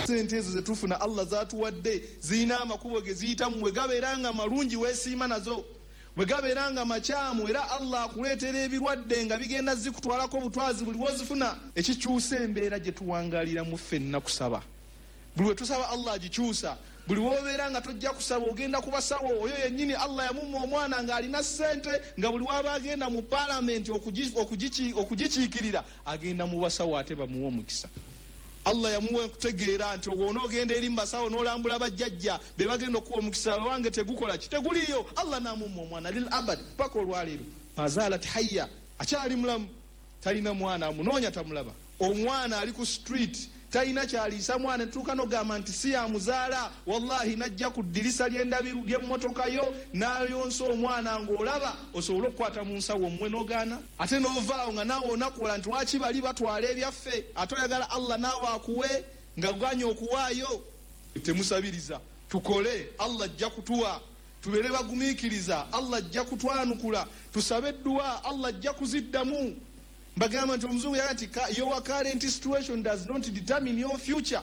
Sente ezo zetufuna Allah zatuwadde zirina amakubo ge ziyitamu, bwe gabeera nga malungi weesiima nazo, bwe gabeera nga makyamu era Allah akuleetera ebirwadde nga bigenda zikutwalako obutwazi buli wozifuna. Ekikyusa embeera gye tuwangaaliramu ffenna kusaba. Buli we tusaba Allah agikyusa. Buli wobeera nga tojja kusaba ogenda ku basawo. Oyo yennyini Allah yamumma omwana ng'alina ssente, nga buli waba agenda mu paalamenti okugikiikirira agenda mu basawo ate bamuwe omukisa. Allah yamuwa okutegeera nti onoogenda eri mu basawo n'olambula bajjajja be bagenda okuwa omukisa, wange tegukola ki, teguliiyo. Allah n'amumma omwana lil abad paka olwaleero. Mazalat hayya, akyali mulamu, talina mwana, amunoonya tamulaba. Omwana ali ku street talina kyaliisa mwana, tuuka n'ogamba nti si yamuzaala, wallahi najja ku ddirisa ly'endabiru ly'emmotoka yo n'ayonsa omwana ng'olaba osobole okukwata mu nsawo omuwe n'ogaana. Ate n'ovaawo nga naawe onakuwala nti lwaki bali batwala ebyaffe, ate oyagala Allah naawe akuwe nga ganye okuwaayo. Temusabiriza, tukole, Allah ajja kutuwa. Tubeere bagumiikiriza, Allah ajja kutwanukula. Tusabe edduwa, Allah ajja kuziddamu. Mbagamba nti omuzungu yaga nti your current situation does not determine your future.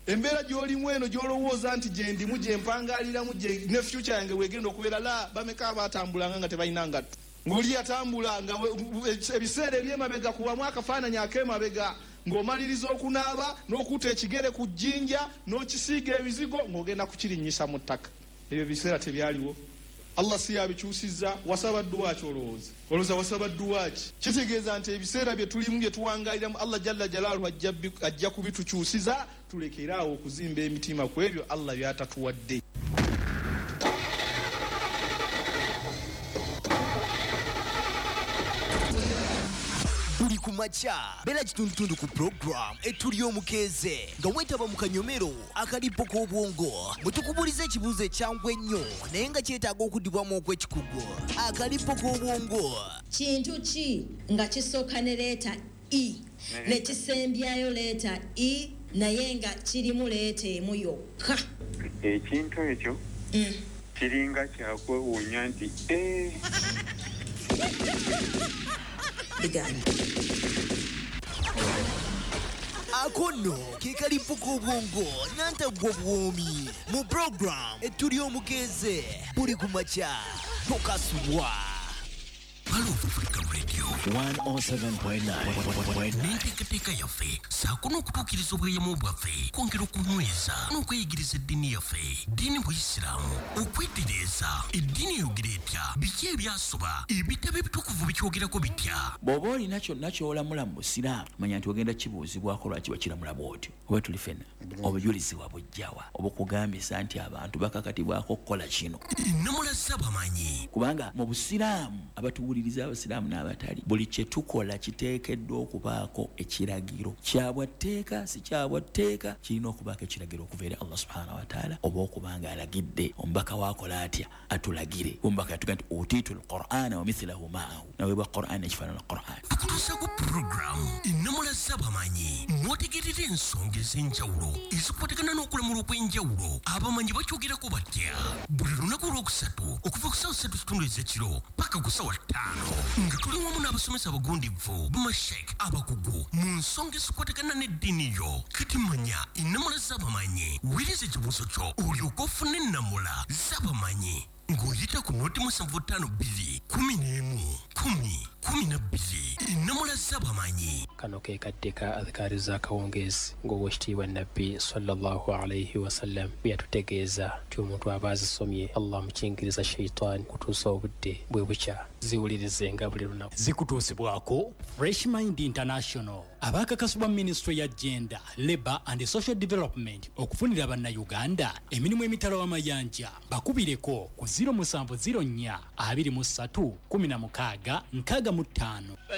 Embeera gy'olimu eno gy'olowooza nti gye ndimu, gye mpangaliramu, ne future yange wegenda okubeera, la bameka abatambulanga nga tebalina ngatto. Ng'oli yatambula nga ebiseera eby'emabega kubamu akafaananyi ak'emabega, ng'omaliriza okunaaba n'okuta ekigere ku jjinja n'okisiiga ebizigo ng'ogenda kukirinnyisa mu ttaka. Ebyo biseera tebyaliwo. Allah si yabikyusizza. Wasaba dduwa ki olowooza? Olowooza wasaba dduwa ki? Kitegeeza nti ebiseera bye tulimu bye tuwangaaliramu Allah jalla jalaaluhu ajja kubitukyusiza, tulekere awo okuzimba emitima ku ebyo Allah by'atatuwadde. Buli ku makya beera kitundutundu ku program Etuli Omukeeze nga weetaba mu kanyomero akalipo k'obwongo bwe tukubuuliza ekibuuzo ekyangu ennyo naye nga kyetaaga okuddibwamu okw'ekikugu. Akalipo k'obwongo. Kintu ki nga kisooka ne leeta E ne kisembyayo leeta E naye nga kirimu leeta emu yokka? Ekintu ekyo kiringa kyakwewuunya nti ee. Bigaana. Ako nno ke kalipo k'obwongo nantaggwa obuwoomi mu program Etuli Omukeeze buli ku makya tokasubwa. Palovu Africa Radio 107.9. N'enteekateeka yaffe ssaako n'okutuukiriza obweyamo bwaffe kwongera okunyweza n'okweyigiriza eddiini yaffe, ddiini buyisiraamu, okwetereeza eddiini eyogera etya, biki ebyasoba, ebitabo ebitukuvu bikyogerako bitya. Bw'oba olina kyonna ky'olamula mu busiraamu, manya nti ogenda kibuuzibwako lwaki wakiramula bw'otyo. Oba tuli ffenna, obujulizi wabujjawa obukugambisa nti abantu bakakatibwako okukola kino? Ennamula z'abamanyi. Kubanga mu busiraamu, abatuwuliriza abasiraamu n'abatali, buli kye tukola kiteekeddwa okubaako ekiragiro. Kya bwa tteeka, si kya bwa tteeka, kirina okubaako ekiragiro okuva eri Allah subhanahu wa ta'ala, oba okuba nga alagidde omubaka we akola atya atulagire. Omubaka yatugamba nti utiitu al-Qur'ana wa mithlahu ma'ahu, naweebwa Qur'an n'ekifaanana Qur'an. Tukutuusaako pulogulaamu Ennamula z'abamanyi mw'otegeerera ensonga ez'enjawulo ezikwatagana n'okulamula okw'enjawulo. Abamanyi bakyogerako batya? Buli lunaku olwokusatu okuva ku ssaawa 3:30 ez'ekiro paka ku ssaawa 5 nga tuli wamu n'abasomesa abagundivu bamashek abakugu mu nsonga ezikwatagana n'eddiini yo. Kati manya ennamula z'abamanyi, weereza ekibuuzo kyo olyoke ofune ennamula z'abamanyi ng'oyita ku noti 752 11 10 12. Ennamula z'abamanyi. Kano ke kadde ka adhikaari z'akawungeezi ng'Oweekitiibwa Nabbi sallallahu alaihi wasallam bwe yatutegeeza nti omuntu aba azisomye Allah amukingiriza shaitaani okutuusa obudde bwe bukya. Ziwulirizenga buli lunaku. Zikutuusibwako Fresh Mind International abaakakasibwa Minisitule ya Gender, Labour and Social Development okufunira Bannayuganda emirimu emitala w'amayanja. Bakubireko ku 0704 23 16 65.